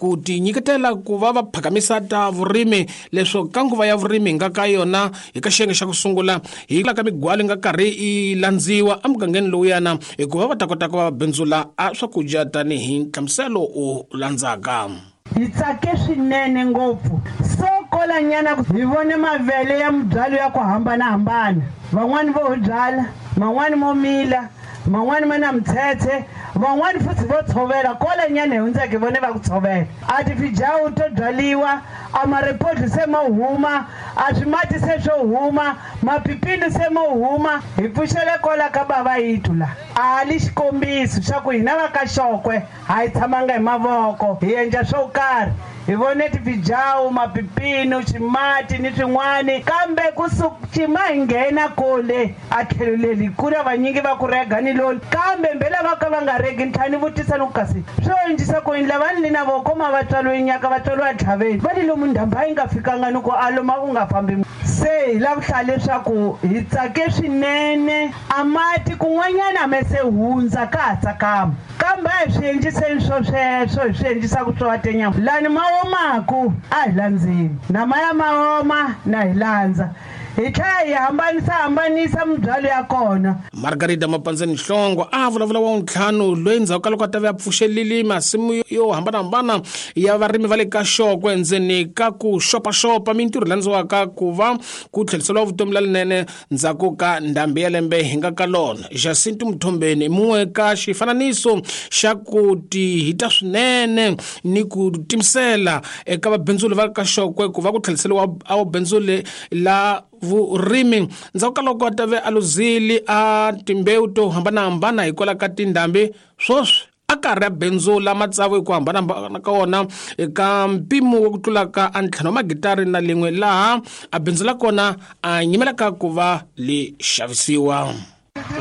ku tinyiketela ku va va phakamisa ta vurimi leswo ka nguva ya vurimi hi nga ka yona hi ka xiyenge xa ku sungula hi la ka migwalo yi nga karhi yi landziwa emugangeni lowuyana hikuva va ta kota ku va va bindzula a swakudya tanihi nhlamuselo u landzaka. Hi tsake swinene ngopfu so kolanyana hi vone mavele ya mibyalo ya ku hambanahambana, van'wani vo ho byala, man'wani mo mila, man'wani ma na mitshetshe, van'wani futhi vo tshovela. Kolanyana hi hundzeke hi vone va ku tshovela. A tifijawu to byaliwa, a marepodlo se mo huma, a swimati se swo huma, mapipini se mo huma. Hi pfuxele kola ka bava yitu la. A li xikombiso xa ku hina va ka Xokwe a hi tshamanga hi mavoko, hi endla swo karhi. Hi vone tifijawu, mapipino, ximati ni swin'wani, kambe ku cima hi nghena kole a tlhelo leli ku na vanyingi va ku rega ni loli, kambe mbela va ka va nga regi. Ni tlhela ni vutisa ni ku kasi swo endlisa ku yini lava ni li na voko ma va tswariwe nyaka va tswariwa ntlhaveni, va li lomu ndhambi a yi nga fikanga ni ku a loma ku nga fambi. Se hi lava ku hlaya leswaku hi tsake swinene, a mati kun'wanyana a me se hundza ka ha tsakama, kambe a hi swi endliseni swo sweswo, hi swi endlisaka swo wa tenyama. Lani ma omaku a hi landzeni, na maya ma oma na hi landza, hi tlhela hi hambanisa hambanisa mibyalo ya kona. Margarida Mapandzeni Nhlongo a vulavula wa ntlhanu loyi ndzhaku ka loko a ta ve a pfuxelile masimu yo hambanahambana ya varimi va le ka Xokwe ndzeni ka ku xopaxopa mintirho landziwaka ku va ku tlheriseriwa vutomi lalinene ndzhaku ka ndhambi ya lembe hi nga ka lona. Jacinto Mthombeni mun'we ka xifananiso xa ku tihita swinene ni ku timisela eka vabindzuli va ka Xokwe ku va ku tlheriseriwa a vubindzuli la vurimi ndzhaku ka loko a ta ve a luzile a timbewu to hambanahambana hikwalaho ka tindhambi, sweswi a karhi a bindzula matsavu hi ku hambanahambana ka wona eka mpimo wa ku tlula ka a ntlhanu wa magitari na lin'we laha a bindzula kona a nyimelaka ku va li xavisiwa.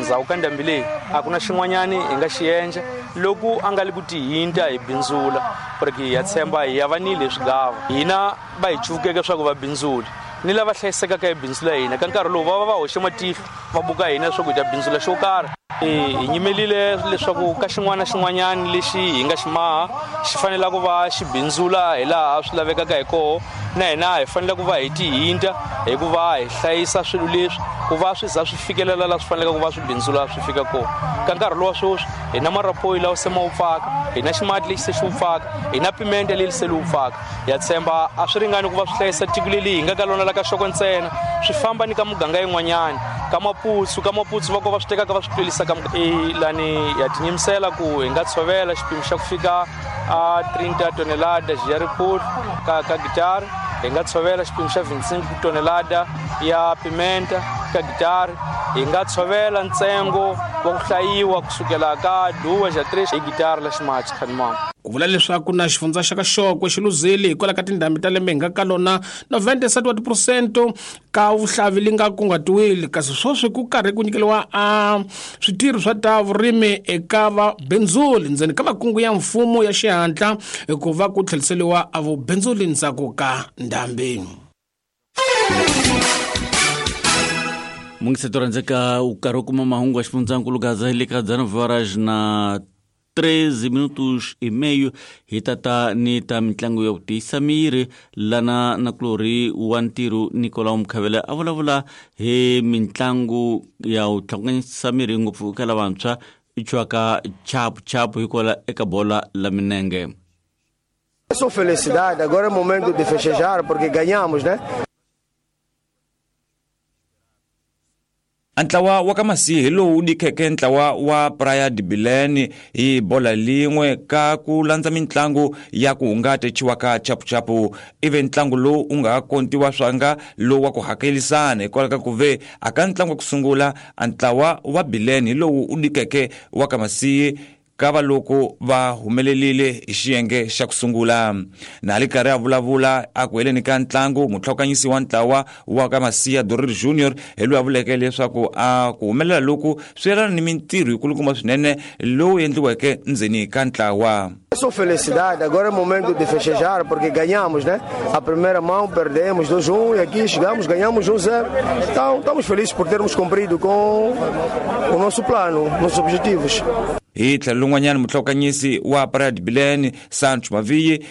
Ndzhaku ka ndhambi leyi a ku na xin'wanyani hi nga xi endla loko a nga li ku tihinta hi bindzula, porque ha tshemba hi ya va ni leswi gava hina va hi cuvukeke swa ku va bindzuli ni lava hlayisekaka hi bindzu la hina. Ka nkarhi lowu va va va hoxe matihlo va buka hina leswaku hi ta bindzula xo karhi. Hi nyimelile leswaku ka xin'wana na xin'wanyani lexi hi nga xi maha xi fanele ku va xi bindzula hi laha swi lavekaka hi koho, na hina hi fanele ku va hi tihinta hi ku va hi hlayisa swilo leswi ku va swi za swi fikelela laha swi faneleke ku va swi bindzula swi fika kona. Ka nkarhi lowa sweswi hi na marapoyi lawa se ma wupfaka, hi na ximati lexi se xi wupfaka, hi na pimente leyi se li wupfaka. Ya tshemba a swi ringani ku va swi hlayisa tiko leri hi nga ka lona la ka Xokwe ntsena, swi famba ni ka muganga yin'wanyana, ka Maputsu, ka Maputsu va ko va swi tekaka va swi tlwerisa ka lani. Ya tinyimisela ku hi nga tshovela xipimo xa ku fika a 30 tonelada ya ripfulu ka gitara, hi nga tshovela xipimo xa 25 tonelada ya pimenta ka gitara, hi nga tshovela ntsengo wa ku hlayiwa kusukela ka duwa ja 3 hi gitara la ximachi khanimama. Ku vula leswaku na xifundza xa ka Xokwe xi luzile hikwalaho ka tindhambi ta lembe hi nga ka lona 97 wa tiphurosento ka vuhlavi li nga kunguhatiwile, kasi sweswi ku karhi ku nyikeriwa a switirho swa ta vurimi eka vabindzuli ndzeni ka makungu ya mfumo ya xihatla ku va ku tlheriseriwa a vubindzuli ndzhaku ka ndhambi. Mungiseto rhandzeka u karhi u kuma mahungu ya xifundzankulu Gaza hi le ka dzana horas na 13 minutos e meio hi tata ni ta mitlangu ya ku tiyisa miri lana nakulorhi wa ntirho Nicolau Mkhavele a vulavula hi mitlangu ya ku tlhakukanyisa miri ngopfu eka lavantshwa i chwaka chapu chapu hikwala eka bola la minenge. Só felicidade, agora é momento de festejar porque ganhamos, né? A ntlawa wa ka Masihi hi lowu dikheke ntlawa wa Praia de Belém hi bola lin'we ka ku landza mintlangu ya ku hungata chiwaka chapuchapu. Ivi ntlangu lowu u nga kontiwa swanga lowu wa ku hakelisana hikwalaho ka ku ve a ka ntlangu wa ku sungula a ntlawa wa Belém hi lowu u dikeke wa ka Masihi ka va loko va humelelile hi xiyenge xa ku sungula. Na li karhi a vulavula a ku heleni ka ntlangu, mutlhokanyisi wa ntlawa wa ka Masiya Dorir Junior hi loyi a vuleke leswaku a ku humelela loku swi yelana ni mintirho yikulukumba swinene lowu endliweke ndzeni ka ntlawa. Só felicidade, agora é momento de festejar porque ganhamos, né? A primeira mão perdemos 2-1 e aqui chegamos, ganhamos 1-0. Então estamos felizes por termos cumprido com o nosso plano, nossos objetivos. Hi tlhelo lin'wanyana mutlhokanyisi wa Praia de Belém Sancho Maviyi